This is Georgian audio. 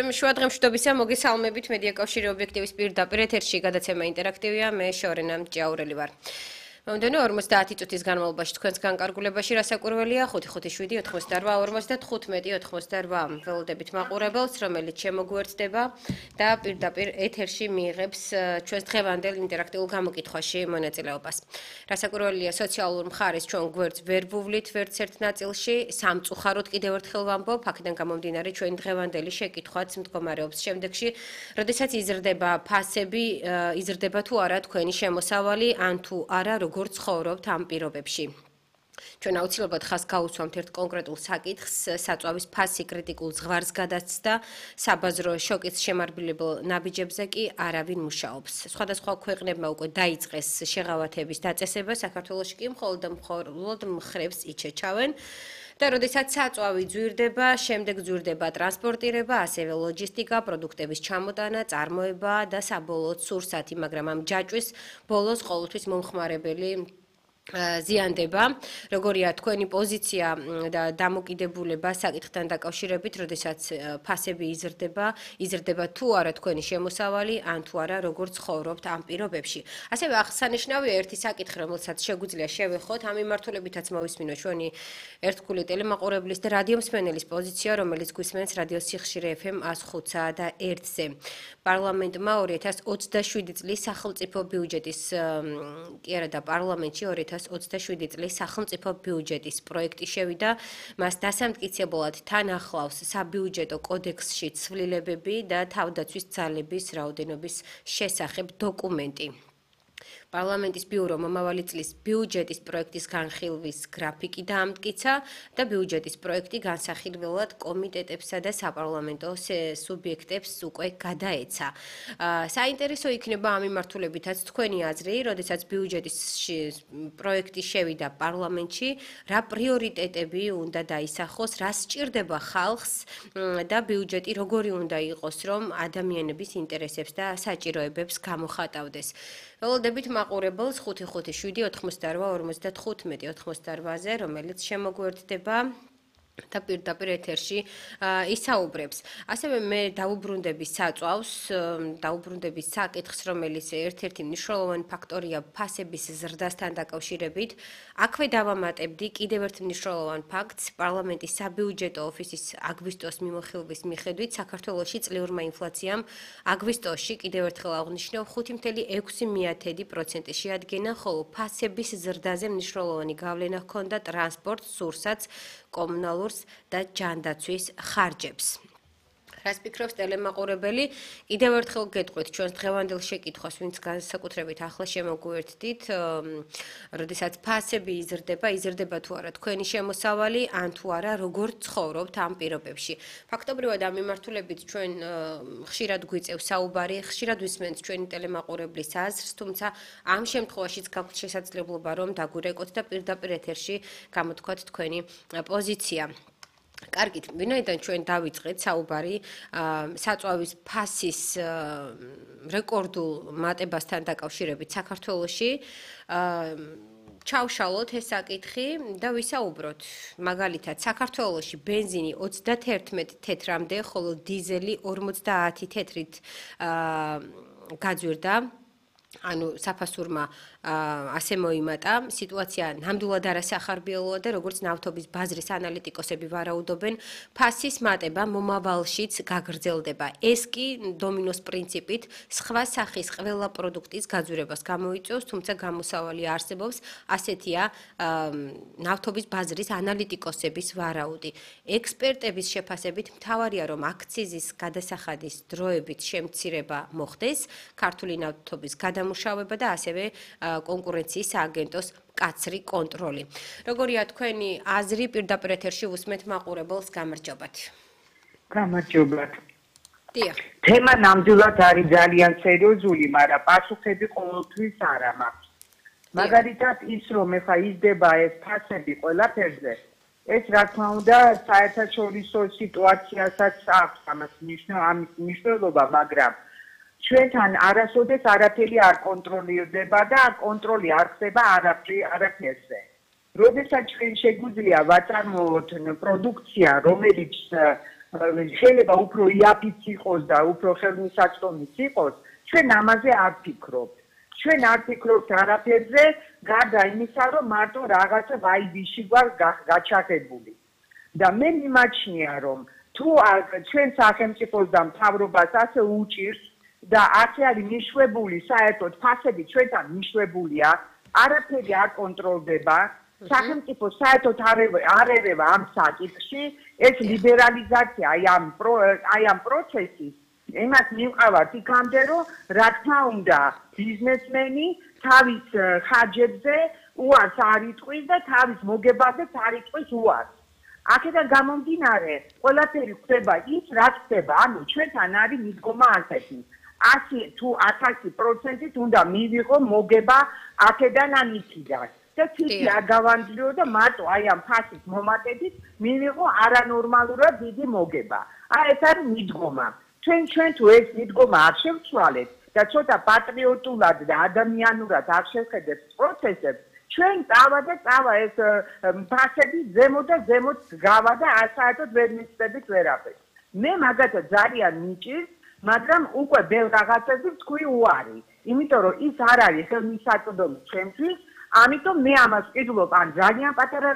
ჩემი შუადღემშვიდობისა მოგესალმებით მედია კავშირი ობიექტივის პირდაპირ ეთერში გადაცემა ინტერაქტივია მე შორენა ჭაურელი ვარ. მომდენო 50 წუთის განმავლობაში თქვენს განკარგულებაში რასაკვირველია 557-88-95-88 ველოდებით მაყურებელს, რომელიც შემოგვერთდება და პირდაპირ ეთერში მიიღებს ჩვენს დღევანდელ ინტერაქტიულ გამოკითხვაში მონაწილეობას. რასაკვირველია სოციალურ მხარეს ჩვენ გვერდს ვერ ვუვლით ვერც ერთ ნაწილში, სამწუხაროდ კიდევ ერთხელ ვამბობ, აქედან გამომდინარე ჩვენი დღევანდელი შეკითხვაც მდგომარეობს შემდეგში, როდესაც იზრდება ფასები, იზრდება თუ არა თქვენი შემოსავალი, ან თუ არა როგორც ცხოვრობთ ამ პირობებში. ჩვენ აუცილებლად ხაზს გაუსვამთ ერთ კონკრეტულ საკითხს, საწვავის ფასი კრიტიკულ ზღვარს გადაცდა, საბაზრო შოკის შემარბილებელ ნაბიჯებზე კი არავინ მუშაობს. სხვადასხვა ქვეყნებმა უკვე დაიწყეს შეღავათების დაწესება, საქართველოში კი მხოლოდ მხრებს იჩეჩავენ. და როდესაც საწვავი ძვირდება, შემდეგ ძვირდება ტრანსპორტირება, ასევე ლოჯისტიკა, პროდუქტების ჩამოტანა, წარმოება და საბოლოოდ სურსათი, მაგრამ ამ ჯაჭვის ბოლოს ყოველთვის მომხმარებელი ზიანდება. როგორია თქვენი პოზიცია და დამოკიდებულება საკითხთან დაკავშირებით, როდესაც ფასები იზრდება თუ არა თქვენი შემოსავალი, ან თუ არა როგორც ცხოვრობთ ამ პირობებში. ასევე აღსანიშნავია ერთი საკითხი, რომელსაც შეგვიძლია შევეხოთ, ამ მიმართულებითაც მოვისმინოთ ჩვენი ერთგული ტელემაყურებლის და რადიო მსმენელის პოზიცია, რომელიც გვისმენს რადიო სიხშირე FM 105-ა და 1-ზე. პარლამენტმა 2027 წლის სახელმწიფო ბიუჯეტის კი არა და პარლამენტში 2027 წლის სახელმწიფო ბიუჯეტის პროექტი შევიდა, მას დასამტკიცებლად თან ახლავს საბიუჯეტო კოდექსში ცვლილებები და თავდაცვის ძალების რაოდენობის შესახებ დოკუმენტი. პარლამენტის ბიურო მომავალი წლის ბიუჯეტის პროექტის განხილვის გრაფიკი დაამტკიცა და ბიუჯეტის პროექტი განსახილველად კომიტეტებსა და საპარლამენტო სუბიექტებს უკვე გადაეცა. საინტერესო იქნება ამ მიმართულებითაც თქვენი აზრი, როდესაც ბიუჯეტის პროექტი შევიდა პარლამენტში, რა პრიორიტეტები უნდა დაისახოს, რა სჭირდება ხალხს და ბიუჯეტი როგორი უნდა იყოს, რომ ადამიანების ინტერესებს და საჭიროებებს გამოხატავდეს. ველოდებით მაყურებელს 557-88-95-88-ზე, რომელიც შემოგვერთდება და პირდაპირ ეთერში ისაუბრებს. ასევე მე დაუბრუნდები საწვავს, დაუბრუნდები საკითხს, რომელიც ერთ-ერთი მნიშვნელოვანი ფაქტორია ფასების ზრდასთან დაკავშირებით. აქვე დავამატებდი კიდევ ერთ მნიშვნელოვან ფაქტს, პარლამენტის საბიუჯეტო ოფისის აგვისტოს მიმოხილვის მიხედვით, საქართველოში წლიურმა ინფლაციამ აგვისტოში კიდევ ერთხელ აღნიშნავ 5.6% შეადგენა, ხოლო ფასების ზრდაზე მნიშვნელოვანი გავლენა ჰქონდა ტრანსპორტ, სურსათს, კომუნალურს და ჯანდაცვის ხარჯებს. რას ფიქრობს ტელემაყურებელი? კიდევ ერთხელ გეტყვით ჩვენს დღევანდელ შეკითხვას, ვინც განსაკუთრებით ახლა შემოგვერთდით, როდესაც ფასები იზრდება თუ არა თქვენი შემოსავალი, ან თუ არა როგორ ცხოვრობთ ამ პირობებში. ფაქტობრივად ამ მიმართულებით ჩვენ ხშირად გვიწევს საუბარი, ხშირად ვისმენთ ჩვენი ტელემაყურებლის აზრს, თუმცა ამ შემთხვევაშიც გაქვთ შესაძლებლობა რომ დაგვირეკოთ და პირდაპირ ეთერში გამოთქვათ თქვენი პოზიცია. კარგით, ვინაიდან ჩვენ დავიწყეთ საუბარი საწვავის ფასის რეკორდულ მატებასთან დაკავშირებით საქართველოში, ჩავშალოთ ეს საკითხი და ვისაუბროთ. მაგალითად, საქართველოში ბენზინი 31 თეთრამდე, ხოლო დიზელი 50 თეთრით გაძვირდა. ანუ საფასურმა ასე მოიმატა, სიტუაცია ნამდვილად არასახარბიელოა და როგორც ნავთობის ბაზრის ანალიტიკოსები ვარაუდობენ, ფასის მატება მომავალშიც გაგრძელდება. ეს კი დომინოს პრინციპით სხვა სახის ყველა პროდუქტის გაძვირებას გამოიწვევს, თუმცა გამოსავალი არსებობს, ასეთია ნავთობის ბაზრის ანალიტიკოსების ვარაუდი. ექსპერტების შეფასებით მთავარია, რომ აქციზის გადასახადის დროებით შემცირება მოხდეს, ქართული ნავთობის გადამუშავება და ასევე კონკურენციის სააგენტოს კაცრი კონტროლი. როგორია თქვენი აზრი პირდაპირ ეთერში უსმენთ მაყურებელს, გამარჯობათ. გამარჯობათ. დიახ. თემა ნამდვილად არის ძალიან სერიოზული, მაგრამ პასუხები ყოველთვის არ მაქვს. მაგალითად ის რომ ეხა იზრდება ეს ფასები ყველაფერზე, ეს რა თქმა უნდა საერთაშორისო სიტუაციასაც აქვს ამის მნიშვნელობა, მაგრამ ჩვენთან არასოდეს არაფერი არ კონტროლირდება და კონტროლი არ ხდება არაფერზე. როდესაც ჩვენ შეგვიძლია ვაწარმოოთ პროდუქცია, რომელიც შეიძლება უფრო იაფიც იყოს და უფრო ხელმისაწვდომიც იყოს, ჩვენ ამაზე არ ვფიქრობთ. ჩვენ არ ვფიქრობთ არაფერზე, გარდა იმისა, რომ მარტო რაღაცა ვაიბიში გვაქვს გაჩაღებული. და მე მიმაჩნია, რომ თუ ჩვენ სახელმწიფოს და მთავრობას ასე უჭირს და ასე არის მიშვებული საერთოდ ფასები ჩვენთან მიშვებულია, არაფერი არ კონტროლდება, სახელმწიფო საერთოდ არ ერევა ამ საკითხში, ეს ლიბერალიზაცია აი ამ პროცესის იმას მივყავართ იქამდე, რომ რა თქმა უნდა ბიზნესმენი თავის ხარჯებზე უარს არ იტყვის და თავის მოგებაზეც არ იტყვის უარს. აქედან გამომდინარე, ყველაფერი ხდება ის, რაც ხდება, ანუ ჩვენთან არის მიდგომა ასეთი. 100 თუ 1000%-ით უნდა მივიღო მოგება აქედან ან იქიდან. და ცივი არ გავანძლიო და მარტო აი ამ ფასის მომატებით მივიღო არანორმალურად დიდი მოგება. ეს არის მიდგომა. ჩვენ თუ ეს მიდგომა არ შევცვალეთ და ცოტა პატრიოტულად და ადამიანურად არ შევხედებთ პროცესებს, ჩვენ წავა ეს ფასები ზემოთ და ზემოთ გავა და საერთოდ ვერ მისწრებით ვერაფერს. მე მაგათაც ძალიან მიჭირს, მაგრამ უკვე ბევრ რაღაცებზე ვთქვი უარი. იმიტომ რომ ის არ არის ხელმისაწვდომი ჩემთვის, ამიტომ მე ამას ვკითხულობ ან ძალიან პატარა